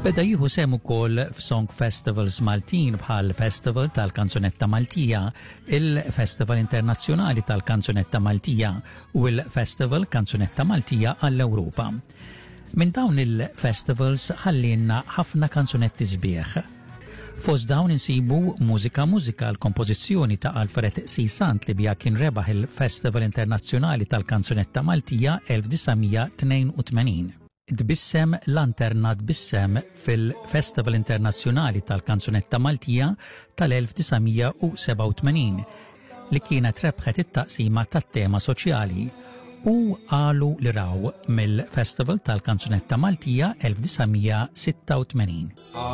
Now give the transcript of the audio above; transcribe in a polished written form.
Beda jieħu sehem ukoll f'song festivals Maltin bħal Festival tal-Kanzunetta Maltija, il-Festival Internazzjonali tal-Kanzunetta Maltija u l-Festival Kanzunetta Maltija għall-Ewropa. Minn dawn il-festivals ħallinna ħafna kanzunetti sbieħ. Fost dawn insibu Mużika Mużika l-kompożizzjoni ta' Alfred C. Sant li biha kien rebaħ il-Festival Internazzjonali tal-Kanzunetta Maltija 1982. Tbissem Lanterna Tbissem fil-Festival Internazzjonali tal-Kanzunetta Maltija tal-1987 li kienet rebħet it-taqsima tat-tema soċjali u Qalu li Raw mill-Festival tal-Kanzunetta Maltija 1986.